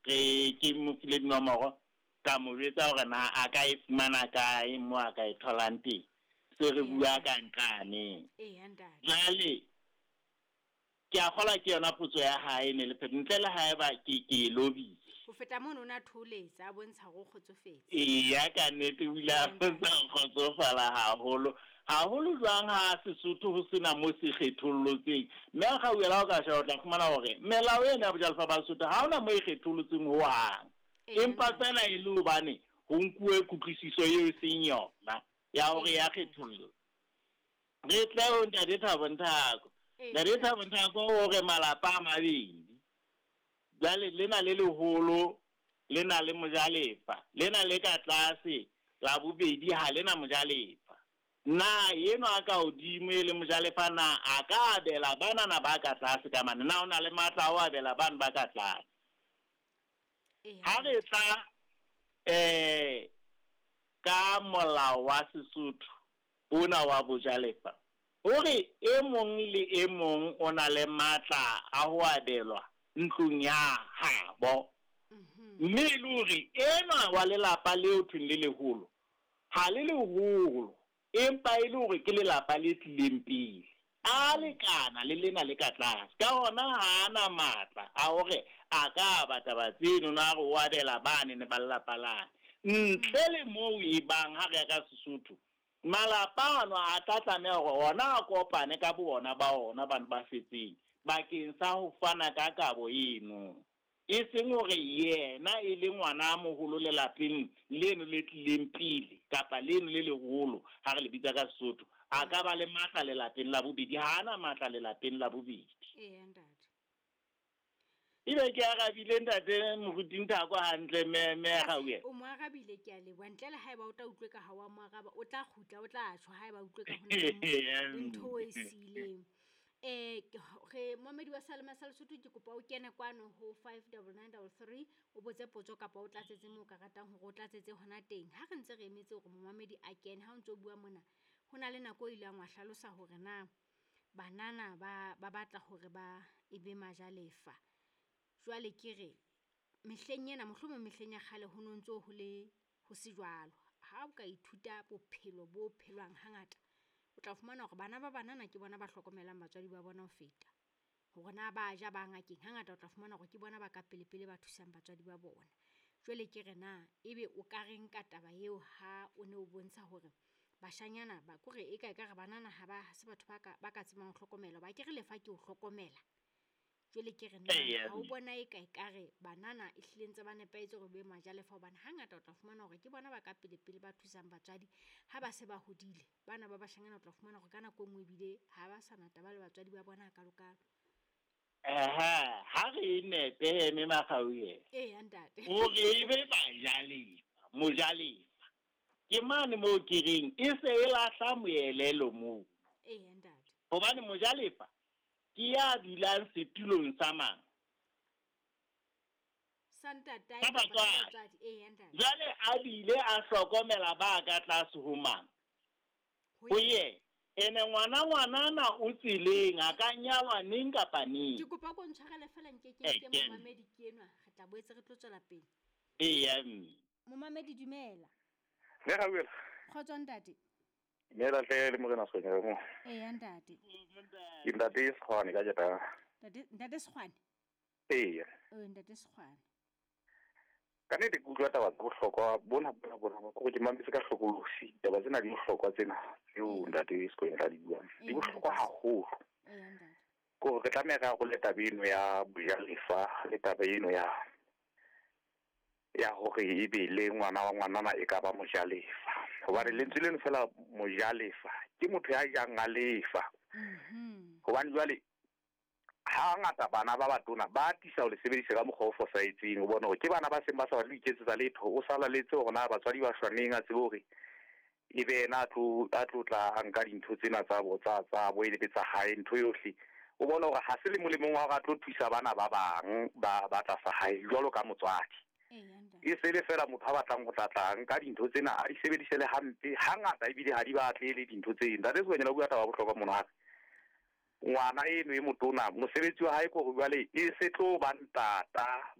Re ke mo file dinomoro, ka mo jwetsa hore na a ka e fumana kae mo a ka e tholang teng. Se re bua ka nqane. Eya ntate. Jwale ke a kgolwa ke yona potso ya hae ne le phetho ntle le haeba ke e lobile. Ho feta mono o ne a thoholetsa a bontsha hore o kgotsofetse. Eya ka nnete o ile a bontsha ho kgotsofala haholo. Haholo jwang ha Sesotho ho sena mo se kgethollotseng. Mme a kgauhela ha o ka sheba o tla fumana hore melao ena ya bojalefa ba Sesotho ha hona mo e kgetholotseng hohang. Empa feela e le hobane ho nkuwe kutlwisiso eo e seng yona ya hore ya kgetholla. Re tle ho Ntate Thabo Nthako. Ntate Thabo Nthako o re malapa a mabedi. Jwale lena le leholo le na le mojalefa, lena le ka tlase la bobedi ha le na mojalefa. Na enwa a ka hodimo e le mojalefa na a ka abela banana ba ka tlase ka mane? Na o na le matla a ho abela bano ba ka tlase? Ha re tla ka molao wa Sesotho ona wa bojalefa, o re e mong le e mong o na le matla a ho abelwa ntlong ya habo. Mme e le hore enwa wa lelapa leo thweng le leholo, ha le leholo, empa e le hore ke lelapa le tlileng pele, a lekana le lena le ka tlase. Ka hona ha a na matla a hore a ka aba taba tseno na re o abela bane ne ba lelapa lane. Ntle le moo e bang ha re ya ka Sesotho, malapa ano a tla tlameha hore ona a kopane ka bo ona ba ona bano ba setseng bakeng sa ho fana ka kabo eno. E seng hore yena e le ngwana a moholo lelapeng leno le tlileng pele kapa leno le leholo ha re le bitsa ka Sesotho, a ka ba le matla lelapeng la bobedi. Ha a na matla lelapeng la bobedi. Eya ntate. Ebe ke arabile ntate Moruti Nthako hantle mme mme Gauwe. O mo arabile, ke a leboha. Ntle le haeba o tla utlwe ka ha wa mo araba, o tla kgutla, o tla tjho haeba utlwe ka ho na le ntho e siileng. Re momedi wa Salema sa Lesotho, ke kopa o kene kwano ho 59933 o botse potso kapa o tlatsetse moo o ka ratang hore o tlatsetse hona teng. Ha re ntse re emetse hore momamedi a kene, ha o ntso bua mona, ho na le nako e ileng wa hlalosa hore na banana ba batla hore ba ebe majalefa. Jwale ke re mehleng ena, mohlomong mehleng ya kgale ho no ntso ho le ho se jwalo. Ha o ka ithuta bophelo bo phelwang hangata, o tla fumana hore bana ba banana ke bona ba hlokomelang batswadi ba bona ho feta. Hore na ba ja ba ngakeng, hangata o tla fumana hore ke bona ba ka pele pele ba thusang batswadi ba bona. Jwale ke re na ebe o ka reng ka taba eo ha o ne o bontsha hore bashanyana ba kore e ka ekare banana ha ba se batho ba ka tsebang ho hlokomela, ba ke re lefa ke ho hlokomela. Jwale ke re na ha o bona e ka ekare banana e hlile ntse ba nepahetse hore be majalefa, hobane hangata o tla fumana hore ke bona ba ka pele pele ba thusang batswadi ha ba se ba hodile. Bana ba bashanyana o tla fumana hore ka nako e nngwe ebile ha ba sa na taba le batswadi ba bona hakalo-kalo. Aha, ha re nepe mme Makgauwe. Eya ntate. Hore e be bajalefa, mojalefa. Ke mane moo ke reng e se e lahla moelelo moo. Eya ntate. Hobane mojalefa ke ya dulang setulong sa mang? Sa ntatae Sa kapa sa batswadi. batswadi. Eya ntate. Jwale a bile a hlokomela ba ka tlase ho mang? Ho Ho yena. Ene ngwana ngwanana o tseleng, a ka nyalwa neng kapa neng. Ke kopa ko ntshwarele feela nke ke Eh, nke ke- momamedi ke enwa, re tla boetse re tlo tswela pele. Eya mme. Momamedi dumela. Mme Gauwela. Kgotso ntate. Dumela hle le morena Sekgwanyana mo. Eya ntate. Ke ntate Sekgwane ka jeta. Ntate, ntate Sekgwane? Eya. Ntate Sekgwane. Ka nnete ke utlwa taba tsa bohlokwa bona bona bona, kore ke mametse ka hlokolosi. Taba tsena di bohlokwa tsena tseo ntate Sekgwanyana a di buang. Di bohlokwa haholo. Eya ntate. Kore re tlameha re arole taba eno ya bojalefa le taba eno ya hore ebe le ngwana wa ngwanana e ka ba mojalefa. Hobane lentswe leno feela mojalefa ke motho ya jang a lefa. Hobane jwale hangata bana ba batona ba atisa ho le sebedisa ka mokgwa o fosahetseng. O bona hore ke bana ba seng ba sa batle ho iketsetsa letho, o sala letse hore na batswadi ba shwa neng, a tsebe hore e be yena a tlo tla a nka dintho tsena tsa bo, tsa, tsa bo e le tsa hae, ntho yohle. O bona hore ha se le molemong wa hore a tlo thusa bana ba bang ba tlasa hae jwalo ka motswadi. Eya ntate. E se le feela motho a batlang ho tla tla nka dintho tsena a di sebedise le hampe, hangata ebile ha di batle le dintho tse. Ntate Sekgwanyana o bua taba ya bohlokwa mona hape. Ngwana eno e motona mosebetsi wa hae ke hore jwale e se tlo ba ntata